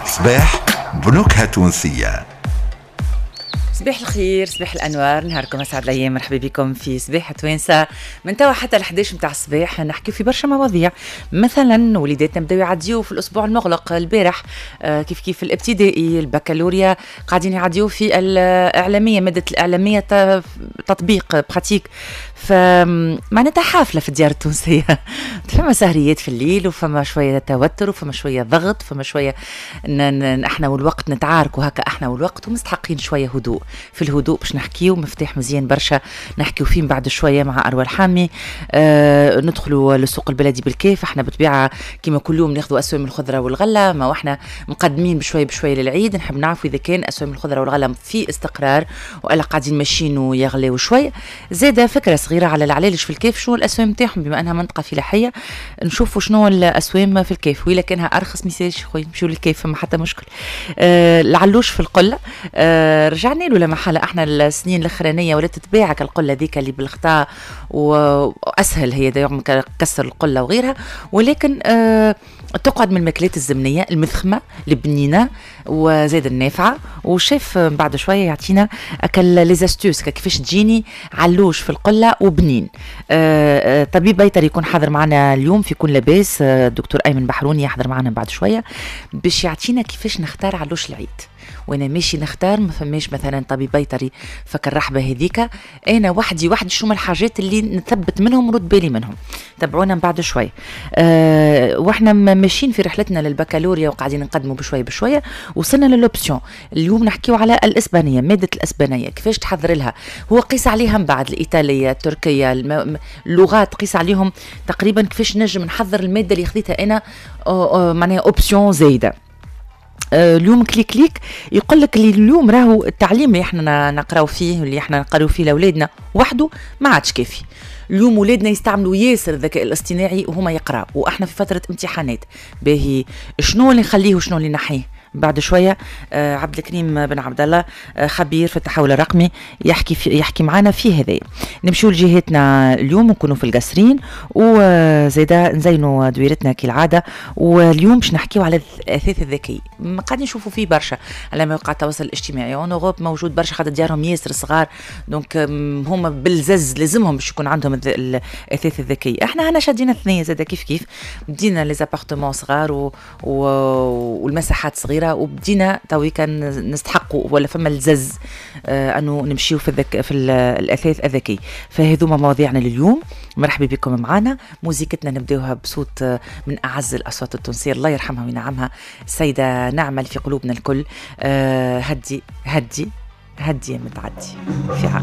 صباح بنكهة تونسية. صباح الخير، صباح الانوار، نهاركم اسعد الايام. مرحبا بكم في صباح توانسة من توا حتى ل 11 نتاع الصباح. نحكي في برشا مواضيع، مثلا وليداتنا بداو يعديو في الاسبوع المغلق البارح، كيف كيف الابتدائي، البكالوريا قاعدين يعديو في الاعلاميه، مادة الاعلامية تطبيق pratique. فمعناتها حافلة في الديار التونسيه، فما سهريات في الليل وفما شوية توتر وفما شوية ضغط، فما شوية احنا والوقت نتعاركوا هكا احنا والوقت، ومستحقين شوية هدوء. في الهدوء باش نحكيو مفتاح مزيان برشا نحكيو فيه بعد شوية مع اروى الحامي. ندخلوا للسوق البلدي بالكاف. احنا بطبيعة كما كل يوم ناخذوا اسوام الخضرة والغلة، ما واحنا مقدمين بشوية بشوية للعيد. نحب نعرفوا اذا كان اسوام الخضرة والغلة في استقرار والا قاعدين ماشيين ويغلاو شوية. زاده فكرة صغيرة على العلالش في الكاف، شنو الاسوام نتاعهم بما انها منطقة فلاحية، نشوفوا شنو الاسوام في الكاف، وإلا كانها ارخص ميسالش خويا نمشيو للكاف، فما حتى مشكل. العلوش في القلة رجعنا له لما حالة احنا السنين الاخرانية ولات تتباع القلة ذيك اللي بالغطاء، واسهل هي دايما كسر القلة وغيرها، ولكن تقعد من الماكلات الزمنية المثخمه البنينه وزاد النافعة. وشيف بعد شوية يعطينا اكل les astuces كيفاش تجيني علوش في القلة وبنين. طبيب بيطري يكون حاضر معنا اليوم في كون لاباس، الدكتور ايمن بحروني يحضر معنا بعد شوية باش يعطينا كيفاش نختار علوش العيد. وانا ماشي نختار ما فماش مثلا طبيب بيطري فك الرحبه هذيك، انا وحدي وحدي شنو الحاجات اللي نثبت منهم ونرد بالي منهم. تابعونا من بعد شوي. واحنا ماشيين في رحلتنا للبكالوريا وقاعدين نقدموا بشوية بشوية، وصلنا لل option. اليوم نحكيو على الاسبانيه، مادة الاسبانية كيفاش تحضر لها، هو قيس عليها من بعد الايطالية، التركيه، اللغات قيس عليهم تقريبا كيفاش نجم نحضر المادة اللي خذيتها انا معناها option زايدة. اليوم clic clic يقول لك اللي اليوم راهو التعليم اللي احنا نقراو فيه واللي احنا نقراو فيه لاولادنا وحده ما عادش كافي. اليوم ولادنا يستعملوا ياسر الذكاء الاصطناعي وهما يقراو، واحنا في فترة امتحانات. باهي شنو اللي نخليه وشنو اللي نحيه؟ بعد شوية عبد الكريم بن عبد الله خبير في التحول الرقمي يحكي معنا في هذا. نمشيو لجهتنا اليوم ونكونوا في القصرين وزيدا نزينوا دويرتنا كالعادة. واليوم باش نحكيو على الاثاث الذكي، قاعدين نشوفوا فيه برشا على مواقع التواصل الاجتماعي، en Europe موجود برشا خاطر ديارهم ياسر صغار، donc هما بالزز لازمهم باش يكون عندهم الاثاث الذكي. احنا هنا شادين الثنية زاده كيف كيف، بدينا les appartements صغار والمساحات صغيرة، وبدينا تويكا نستحقوا ولا فما الزز انه نمشيو في الاثاث الذكي. فهذوما مواضيعنا لليوم. مرحبا بكم معنا. موزيكتنا نبداوها بصوت من اعز الاصوات التونسية، الله يرحمها وينعمها، السيدة نعمل في قلوبنا الكل. هدي هدي هدي يا متعدي في عقل.